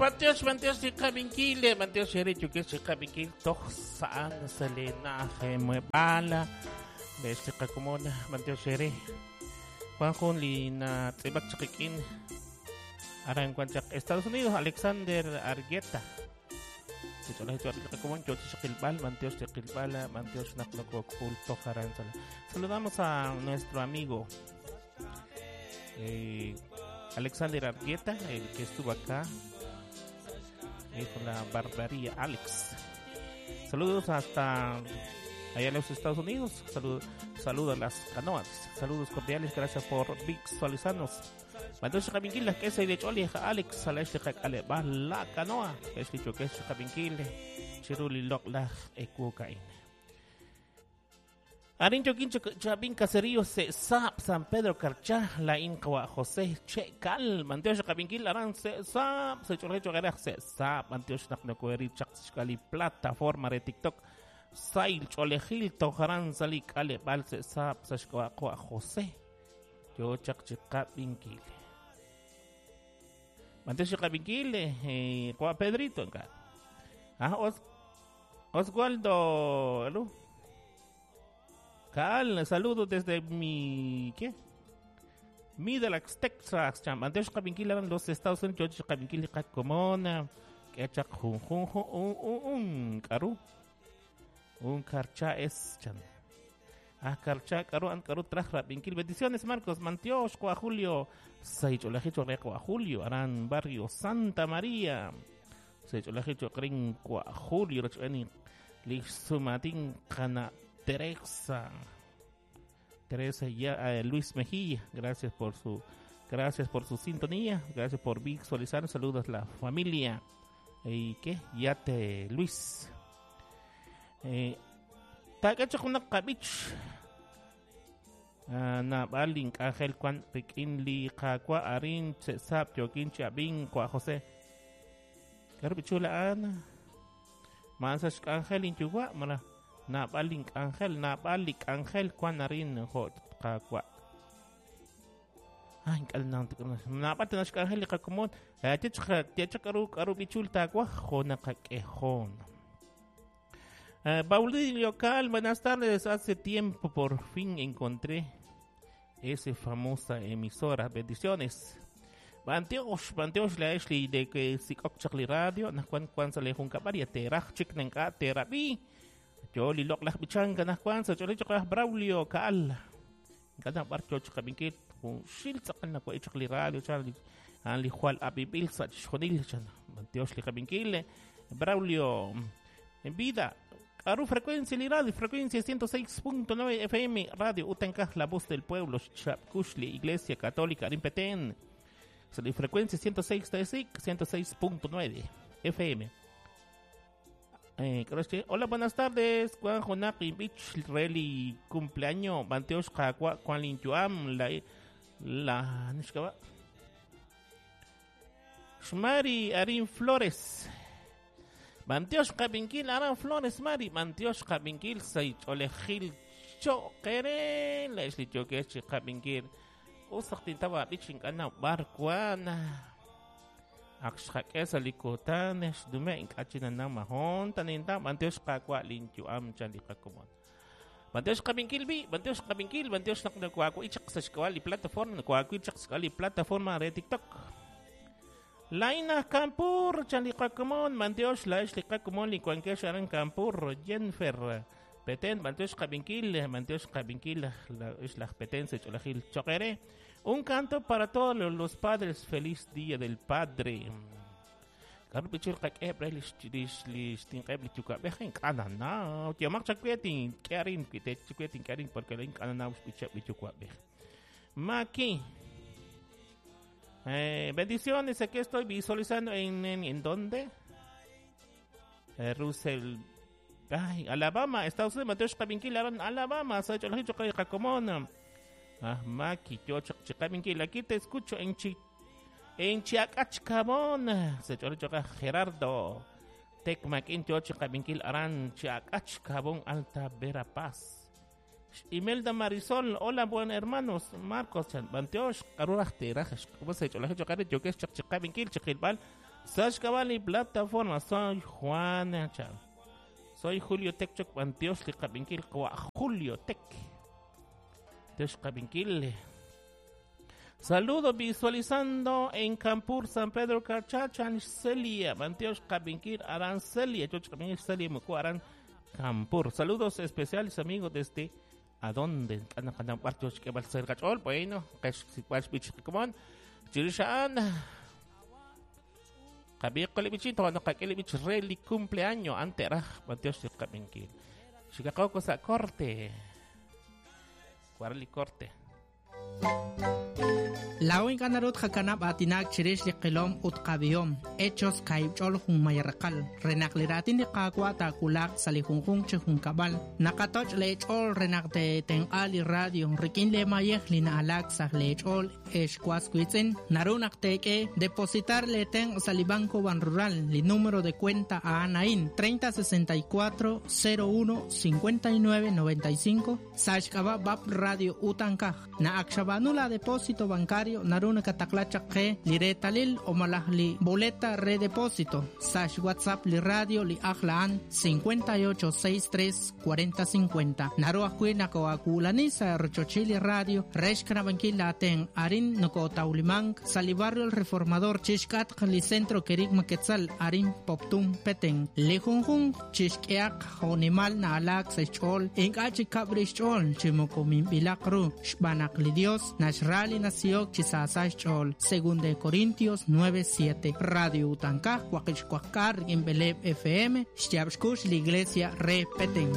Bantiox, bantiox chiqabinkil, bantiox ere yokex chiqabinkil toj sa'an salena muebala. Lex chiqakomon, bantiox ere. Juan Jun lina tzibak chiqikin. Aran kuan Estados Unidos, Alexander Argueta. Saludamos a nuestro amigo Alexander Argueta, el que estuvo acá con la barbaría Alex. Saludos hasta allá en los Estados Unidos. Saludos saludo a las canoas. Saludos cordiales, gracias por visualizarnos. Mandosh Kabinkil, que se de Choli, Alex, Salash la canoa, es dicho que es Kabinkil, Chiruli Lokla, Ekukain. Arin Choquín Chabín Caserío se Sap San Pedro Carchá la Inca José Che Cal Mantiosh Kabinkil Aran se Sap se Chorrecho Garaj se Sap Mantiosh Naknokueri Chaxcali plataforma de TikTok Sail Cholejil Tojaran Salik Ale Balse Sap Sashkoa José Yo Chakchicabinkil Mantiosh Kabinkil Kwa Pedrito Ah Oswaldo ¿aló? Cal, saludos desde mi ¿qué? Middlesex, Texas, Antes Kabinkil eran los Estados Unidos, yo Kabinkil Comona, que chak jun jun un karu. Un karcha es chan. Ah, karcha karu an karu trajra binkil. Bendiciones Marcos, Mantiosh, Cua Julio, Saicholajicho Cua Julio, Aran Barrio Santa María. Saicholajicho Crin Cua Julio, Rocheni Lixumatín Cana Teresa ya, Luis Mejía, gracias por su sintonía, gracias por visualizar, saludos a la familia. ¿Y qué? Yate Luis. Takacho una kabich. Na balin ángel cuan pekin li kakwa arin sap yokin chabin kwa José. Karbichula ana. Mansas ángel inchugua mara. Nabalik ángel cuan arin hot kakwa. Ay, napate na ángel kakumon. Tiachakaru karu bichul takwa jona kakejón. Baudilio Cal, buenas tardes. Hace tiempo por fin encontré esa famosa emisora. Bendiciones. Banteosh la Ashley de que si okchakli radio, na cuan cuan sale junca varia teraj chiknenka terabi. Yo lilok lah bichanga na kwan sa chole chokah Braulio Kaal. Kada bar choch kabinkit kung shil sakal na kwa ichakli radio chali an li jual abibil sa chonil chan. Banteosh li kabinkil Braulio en vida. Aru frecuencia li radio, frecuencia 106.9 FM, Radio Utencaj, la voz del pueblo, Chapcushli, Iglesia Católica, Arimpetén. Frecuencia 106.9 FM. Hola, buenas tardes. Juan Jonaki Beach, Reli, cumpleaños, Banteosh Kakwa, Juan Linchuam, la Nishkaba. Shmari Arin Flores. Banteosh Kabinkil, Aran Flores, Mari, Banteosh Kabinkil, Saicholejil, Chokere, Leslie Chokechi Kabinkil, Usaktintawa, Bichin Kana, Barcuana. Akshakesa likotanes dume inkachina na mahon taninta banteosh kakwa linchuam chalikakumon. Banteosh kabinkil bi, banteosh kabinkil, banteosh naknakwako ichak sa shkawali plataforma, nakwako ichak sa plataforma re TikTok. Laina Campur chalikakumon, banteosh la ishlikakumon likuankesh aran Campur, Jennifer Petén, banteosh kabinkil, la ishlaj Petén se cholajil chokere. Un canto para todos los padres. Feliz Día del Padre. Maki. Bendiciones. Aquí estoy visualizando en dónde? Russell. Ay, Alabama. Estados Unidos. Mateo Xcabinkil, Alabama. Ah, Maki, yo chikabinkil, aquí te escucho en Chiacachcabón. Se choca Gerardo. Tecmaquín, yo chikabinkil, aran Chiacachcabón, Alta Verapaz. Imelda Marisol, hola, buen hermanos. Marcos, Banteosh, Karuraj, Terajas, ¿cómo se chola? Yo que es chikabinkil, chikilbal, Sa' plataforma soy Juan Chan. Soy Julio Tec Choc Bantiox li qabinkil qawa Julio Tec. Tiox qabinkil. Saludo visualizando en Campur, San Pedro Carchachan, Celia, Bantiox Qabinkil, Aran Celia, Choch Qabinkil, Celia Muku, Aran Campur. Saludos especiales amigos desde ¿A dónde? Bueno, Chirishaan. Reli cumpleaños ante Bantiox Qabinkil. Chicago sa corte. Guarli corte. Law ink'a' naru tqakanab' aatinak chirix li qilom ut qabihom, Hechos kaahib' ch'ol junmayaraqal, re naq li raatin li Qaawa' taawulaq sa' li junjunq chi junkab'al. Naqatoch' leech'ool re naq teetenq'a li radio rik'in leemayej li na'alaak sa' leech'ool ex was wiitz'in. Naru naq teek'e depositar leetenq' sa' li Banco Banrural, li número de cuenta a'an a'in 3064 01 59 95 sa' xk'ab'a' BAP Radio Utankaj. Na'ak xab'aanu la depósito bancario naru nakataqla chaq qe li reetalil o malaj li boleta re depósito sa' xWhatsApp li radio li ajl a'an 58 63 40 50. Naru ajwi' nakoakuulani sa' rochochil li radio re xkanab'ankil laatenq' arin nokotawlimank sa' li barrio El Reformador chixk'atq li centro Kerigma Quetzal arin Poptún Petén. Li junjunq chixk'ehaq jo'nimal na'alaak sa' xch'ool ink'a' chikab' rix xch'ool chi moko minb'ilaq ru xb'aan naq li Dios naxra li nasihok chi saasa xch'ool. Segunda de Corintios 9:7. Radio Utankaj waqib' xwaqk'aal rik'in b'eleeb' FM xyaab' xkux li Iglesia re Petén.